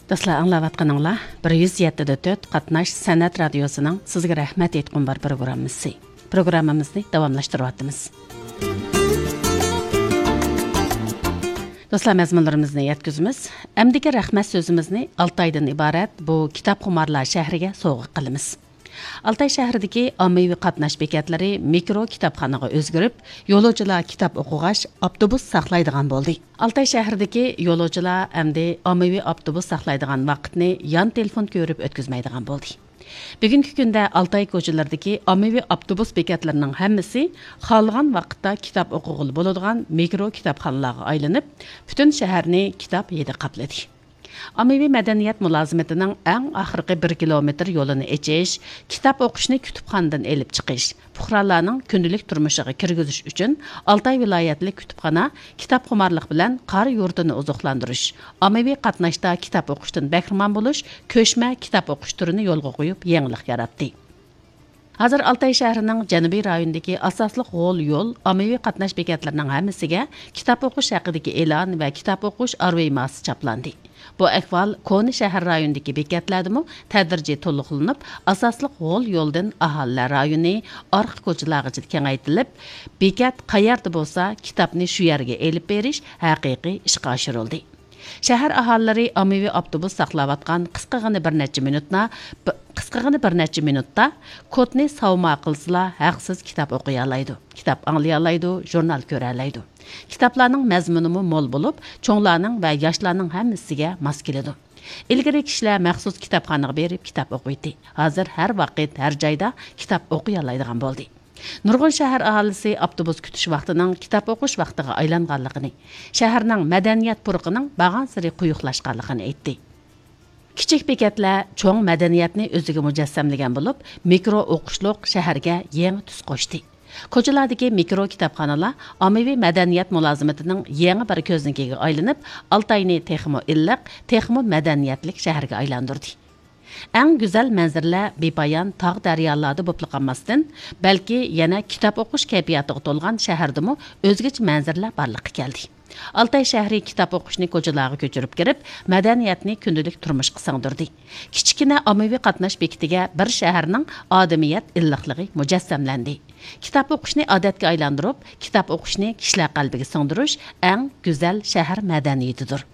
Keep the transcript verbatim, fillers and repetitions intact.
دوستلار، ئاڭلاۋاتقىنىڭلار بىر يۈز يەتتە دە تۆت قاتناش سەنئەت رادىيوسىنىڭ سىزگە رەھمەت ئېيتقۇم بار پروگراممىسى. پروگراممىمىزنى داۋاملاشتۇرۇۋاتىمىز. دوستلار، مەزمۇنلىرىمىزنى يەتكۈزىمىز. ئەمدىكى رەھمەت سۆزىمىزنى ئالتايدىن ئىبارەت بۇ كىتابخۇمارلار شەھىرىگە سوۋغا قىلىمىز. ئالتاي شەھىرىدىكى ئاممىۋى قاتناش بېكەتلىرى مىكرو كىتابخانىغا ئۆزگىرىپ، يولۇچىلار كىتاب ئوقۇغاچ ئاپتوبۇس ساقلايدىغان بولدى. ئالتاي شەھىرىدىكى يولۇچىلار ئەمدى ئاممىۋى ئاپتوبۇس ساقلايدىغان ۋاقىتنى يان تېلېفون كۆرۈپ ئۆتكۈزمەيدىغان بولدى. بۈگۈنكى كۈندە ئالتاي كوچىلىرىدىكى ئاممىۋى ئاپتوبۇس بېكەتلىرىنىڭ ھەممىسى خالىغان ۋاقىتتا كىتاب ئوقۇغىلى بولىدىغان مىكرو كىتابخانىلارغا ئايلىنىپ، پۈتۈن شەھەرنى كىتاب ھىدى قاپلىدى. ئاممىۋى مەدەنىيەت مۇلازىمىتىنىڭ ئەڭ ئاخىرقى بىر كىلومېتىر يولىنى ئېچىش، كىتاب ئوقۇشنى كۇتۇپخانىدىن ئېلىپ چىقىش، پۇقرالارنىڭ كۈندىلىك تۇرمۇشىغا كىرگۈزۈش ئۈچۈن ئالتاي ۋىلايەتلىك كۇتۇپخانا كىتابخۇمارلىق بىلەن قار يۇرتىنى ئوزۇقلاندۇرۇش، ئاممىۋى قاتناشتا كىتاب ئوقۇشتىن بەھرىمەن بولۇش كۆچمە كىتاب ئوقۇش تۈرىنى يولغا قويۇپ، يېڭىلىق ياراتتى. ھازىر ئالتاي شەھىرىنىڭ جەنۇبىي رايونىدىكى ئاساسلىق غول يول، ئاممىۋى قاتناش بېكەتلىرىنىڭ ھەممىسىگە كىتاب ئوقۇش ھەققىدىكى ئېلان ۋە كىتاب ئوقۇش ئارۋىماسى چاپلاندى. بۇ ئەھۋال كونا شەھەر رايونىدىكى بېكەتلەردىمۇ تەدرىجىي تولۇقلىنىپ، ئاساسلىق غول يولدىن ئاھالىلەر رايونى ئارقا كوچىلارغىچە كېڭەيتىلىپ، بېكەت قەيەردە بولسا، كىتابنى شۇ يەرگە ئېلىپ بېرىش ھەقىقىي ئىشقا ئاشۇرۇلدى. شەھەر ئاھالىلىرى ئاممىۋى ئاپتوبۇس ساقلاۋاتقان قىسقىغىنە بىر نەچچە مىنۇتنا، ب-، قىسقىغىنە بىر نەچچە مىنۇتتا كودنى ساۋما قىلسىلا، ھەقسىز كىتاب ئوقۇيالايدۇ، كىتاب ئاڭلىيالايدۇ، ژۇرنال كۆرەلەيدۇ. كىتابلارنىڭ مەزمۇنىمۇ مول بولۇپ، چوڭلارنىڭ ۋە ياشلارنىڭ ھەممىسىگە ماس كېلىدۇ. ئىلگىرى كىشىلەر مەخسۇس كىتابخانىغا بېرىپ كىتاب ئوقۇيتتى. ھازىر ھەر ۋاقىت، ھەر جايدا كىتاب ئوقۇيالايدىغان بولدى. نۇرغۇن شەھەر ئاھالىسى ئاپتوبۇس كۈتۈش ۋاقتىنىڭ كىتاب ئوقۇش ۋاقتىغا ئايلانغانلىقىنى، شەھەرنىڭ مەدەنىيەت پۇرىقىنىڭ بارغانسېرى قويۇقلاشقانلىقىنى ئېيتتى. كىچىك بېكەتلەر چوڭ مەدەنىيەتنى ئۆزىگە مۇجەسسەملىگەن بولۇپ، مىكرو ئوقۇشلۇق شەھەرگە يېڭى تۈس قوشتى. كوچىلاردىكى مىكرو كىتابخانىلار ئاممىۋى مەدەنىيەت مۇلازىمىتىنىڭ يېڭى بىر كۆزنىكىگە ئايلىنىپ، ئالتاينى تېخىمۇ ئىللىق، تېخىمۇ مەدەنىيەتلىك شەھەرگە ئايلاندۇردى. ئەڭ گۈزەل مەنزىرىلەر بىپايان تاغ دەريالاردا بولۇپلا قالماستىن، بەلكى يەنە كىتاب ئوقۇش كەيپىياتىغا تولغان شەھەردىمۇ ئۆزگىچە مەنزىرىلەر بارلىققا كەلدى. ئالتاي شەھىرى كىتاب ئوقۇشنى كوچىلارغا كۆچۈرۈپ كىرىپ، مەدەنىيەتنى كۈندىلىك تۇرمۇشقا سىڭدۈردى. كىچىككىنە ئاممىۋى قاتناش بېكىتىگە بىر شەھەرنىڭ ئادىمىيەت ئىللىقلىقى مۇجەسسەملەندى. كىتاب ئوقۇشنى ئادەتكە ئايلاندۇرۇپ، كىتاب ئوقۇشنى كىشىلەر قەلبىگە سىڭدۈرۈش ئەڭ گۈزەل شەھەر مەدەنىيىتىدۇر.